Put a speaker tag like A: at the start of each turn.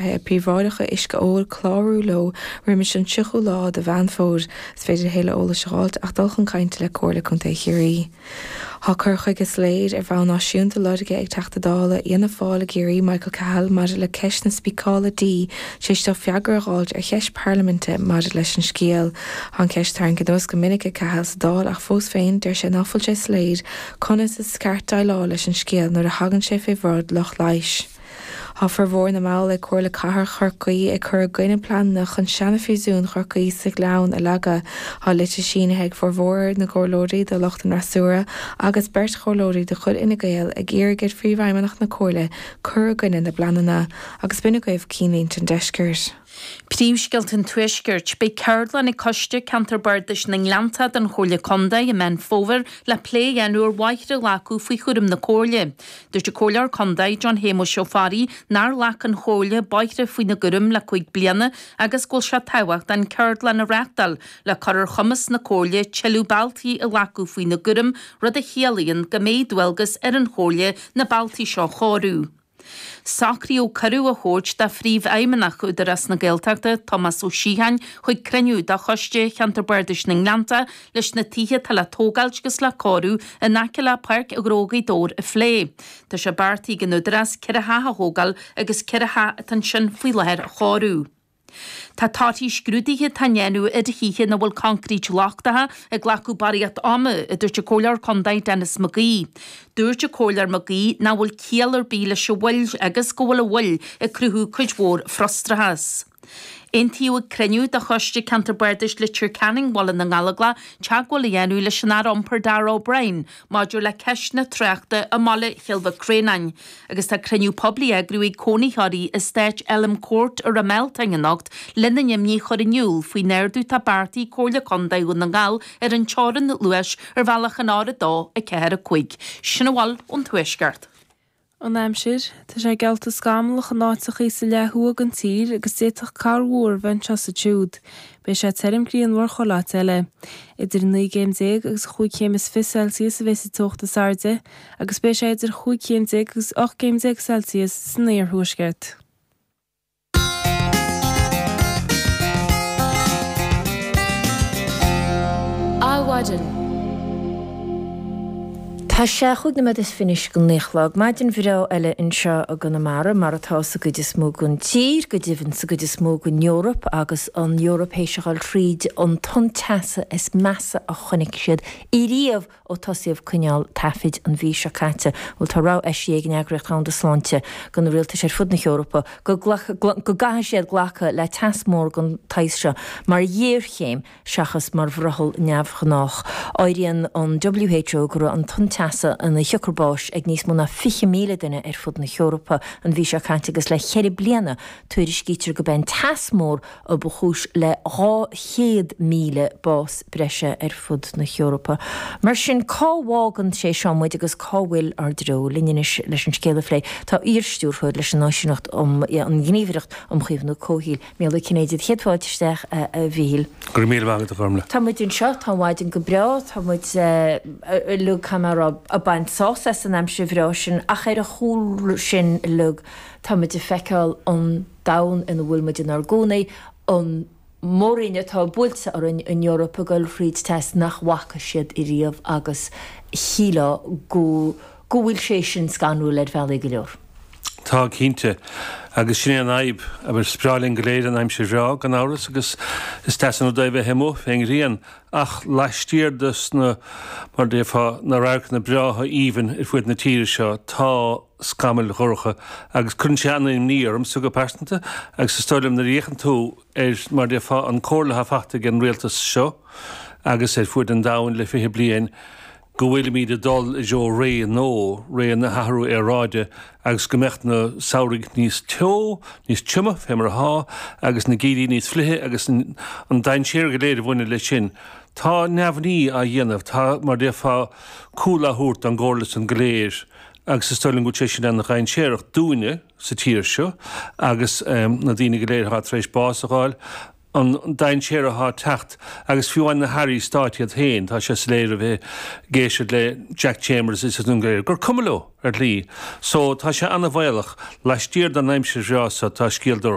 A: Príobháideacha uisce óil clárú leo roimis an 30ú lá de Mheán Fómhair. Is féidir a thuilleadh eolais a dh'fháilt ach dul chun cainte le Comhairle Contae Chiarraí. Tá cur chuige soiléir ar bhonn náisiúnta lorgtha ag Teachta Dála Fhianna Fáil i gCiarraí, Michael Cahill, maidir le ceist na spíceála dí tar éis dó freagra a dh'fháilt ar cheist parlaiminte maidir leis an scéal. Tá an cheist tarraingthe anuas go minic ag Cahill sa Dáil ach fós féin deir sé ná fuil sé soiléir conas is ceart déileáil leis an scéal nuair a thagann sé fé bhráid lucht leighis. Tá formhór na mball ag Comhairle Cathrach Chorcaí ag cur i gcoinne pleananna chun seana-phríosún Chorcaí sa Ghleann a leagadh. Tá litir sínithe ag formhór na gcomhairleoirí de lucht an fhreasúra agus beirt chomhairleoirí de chuid Fhine Gael ag iarraidh ar Phríomhfheidhmeannach na Comhairle cur i gcoinne na bpleananna. Agus b'in agaibh cinnlínte an deiscirt.
B: Príomhscéalta an Tuaiscirt. Beidh ceardlann ag Coiste Ceantar Bardais na nGleanntach den Chomhairle Contae i Meán Fómhair le plé a dhéanamh ar bhóithre a ghlacadh faoi chúram na Comhairle. Dúirt an Comhairleoir Contae John Shéamuis Ó Fearraigh nár ghlac an Chomhairle bóithre faoina gcúram le 5 bliana agus go bhfuil sé tábhachtach an ceardlann a reáchtáil le cur ar chumas na Comhairle tuilleadh bealtaí a ghlacadh faoina gcúram rud a chiallaíonn go mbeidh dualgas ar an Chomhairle na bealtaí seo a chóiriú. Socraíodh cuireadh a thabhairt do Phríomhfheidhmeannach Údarás na Gaeltachta, Tomás Ó Síocháin, chuig cruinniú de Choiste Cheantar Bardais na nGleanntach leis na tithe atá le tógáilt agus le cóiriú in aice le Páirc Ghnó Ghaoth Dobhair a phlé. Tá sé beartaithe ag an Údarás 4 theach a thógáil agus 4 theach atá ansin faoi láthair a chóiriú. Tá torthaí scrúduithe atá á ndéanamh ar thithe ina bhfuil coincréit lochtacha ag glacadh barraíocht ama, a dúirt an Comhairleoir Contae Denis McGee. Dúirt an Comhairleoir McGee nach bhfuil ciall ar bith leis an mhoill agus go bhfuil an mhoill ag cruthú cuid mhór frustrachas. Aontaíodh ag cruinniú de Choiste Ceantar Bardais Leitir Ceanainn Bhaile na nGallóglach teagmháil a dhéanamh leis an Aire Iompair Darragh O'Brien maidir le ceist na tráchta i mbaile Chill Mhic Réanáin agus tá cruinniú poiblí á eagrú ag cónaitheoirí eastáit Elm Court i Ráth Mealtain anocht lena n-imní a chur in iúl faoin ardú atá beartaithe ag Comhairle Contae Dhún na nGall ar an teorainn luais ar bhealach an R2, 4, 5. Sin a bhfuil ón Tuaisceart.
C: An aimsir, Tá sé geallta scamallach in áiteachaí sa leath thuaidh den tír agus d'fhéadfadh corrmhúr a bheith anseo is ansiúd. Beidh sé tirim grianmhar chuile áit eile. Idir 19 gcéim agus chúig chéim is 20 Celsius a bheidh sa teocht is airde agus beidh sé idir chúig chéim déag agus 18 gcéim Celsius san iarthuaisceart.
D: Adhmhaidin. Tá sé chúig nóiméad is fiche anois go naoi a chlog. Maidin bhreá eile anseo i gConamara, mar atá sa gcuid is mó den tír, go deimhin sa gcuid is mó den Eoraip, agus an Eoraip théis a dhul thríd an tonn teasa is measa a chonaic siad ariamh ó tosaíodh coinneáil taifid an mhí seo caite. Bhuel, tá rabhadh eisithe ag an Eagraíocht Dhomhanda Sláinte do na rialtais ar fud na hEorpa go go gcaithfidh siad glacadh le teas mór den tsaghas seo mar ghéarchéim seachas mar bhrothall neamhghnách. Áiríonn an WHO go raibh an tonn teasa ina shiocair báis ag níos mó ná 20,000 duine ar fud na hEorpa an mhí seo caite agus le ceithre bliana tuairiscítear gurb é an teas mór a ba chúis le 200,000 bás breise ar fud na hEorpa. Mar sin, cá bhfágann sé seo muid agus cá bhfuil ár dtreo? Linn anois leis an scéal a phlé tá iar-stiúrthóir leis an Náisiúnacht um an nGníomhaireacht um Chaomhnú Comhshaoil, Mícheál Ó Cinnéide. Céad fáilte isteach, a Mhíchíl.
E: Go raibh míle maith agat, a Ghormlaith.
D: Tá muid anseo, tá an mhaidin go breá, tá muid uilig, caithfidh mé a rá, ag baint sásamh as an aimsir bhreá sin ach ar a chúl sin uilig, tá muid ag feiceáil an domhan ina bhfuil muid inár gcónaí, an mór-roinn atá buailte orainn, an Eoraip ag dul thríd teas nach bhfaca siad ariamh agus shílfeá go go bhfuil sé sin scanrúil ar bhealaí go leor.
E: Tá, cinnte. Agus sin é an fhadhb. Abair, is breá linn go léir an aimsir bhreá, gan amhras, agus is deas an rud é a bheith amuigh fén ngrian, ach laistiar de sna, mar a déarfá, na radharcanna breátha aoibhinn ar fuaid na tíre seo, tá scamaill dhorcha agus cuireann sé an-imní ormsa go pearsanta agus is dóigh liom nuair a fhéachann tú ar, mar a déarfá, an comhairle atá faighte ag an rialtas seo agus ar fuaid an domhain le 20 bliain go bhfuilimid ag dul i dtreo ré nua, ré na hathrú aeráide agus go mbeadh na samhraidh níos teo, níos troime fé mar atá agus na geimhrí níos fliche agus an dainséar go léir a bhaineann leis sin. Tá neamhní á dhéanamh, tá, mar a déarfá, cúl á thabhairt don gcomhairle san go léir. agus is dóigh liom go bhfuil sé sin ana-dhainséarach dúinne sa tír seo agus na daoine go léir atá tar éis bás a dh'fháil. An dainséar atá ag teacht agus fiú amháin na hairí stáit iad féin, tá sé soiléir a bheith ag éisteacht le Jack Chambers is an go léir, gur cuma leo ar shlí. So, tá sé an-bhaolach. Laistiar den aimsir bhreá seo tá scéal dorcha.